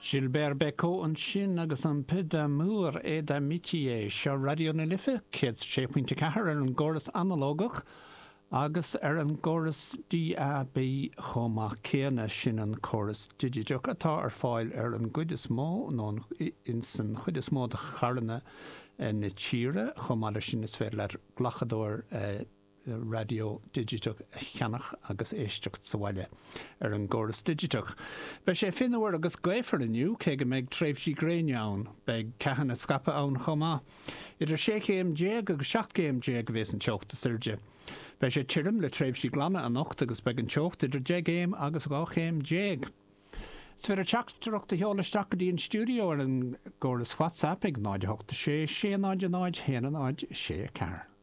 Gilbert Bécaud ansin agus Un peu d'amour et d'amitié. Seo Raidió na Life 106.4 ar an gcóras analógach agus ar an gcóras DAB chomh maith céanna, sin an córas digiteach atá ar fáil ar an gcuid is mó, nó ins an chuid is mó de charranna na tíre. Chomh maith leis sin is féidir leat glacadóir raidió digiteach a cheannach agus éisteacht sa bhaile ar an gcóras digiteach. Beidh sé fionnuar agus gaofar inniu, cé go mbeidh tréimhsí gréine ann. Beidh ceathanna scaipthe ann chomh maith. Idir 16 chéim agus 17 chéim a bheas an teocht is airde. Beidh sé tirim le tréimhsí glana anocht agus beidh an teocht idir 10 gcéim agus 12 chéim. Is féidir teachtaireacht a sheoladh isteach go dtí an stiúideo ar an gcóras WhatsApp ag 0 8 6 6 0 0 1 0 6 4.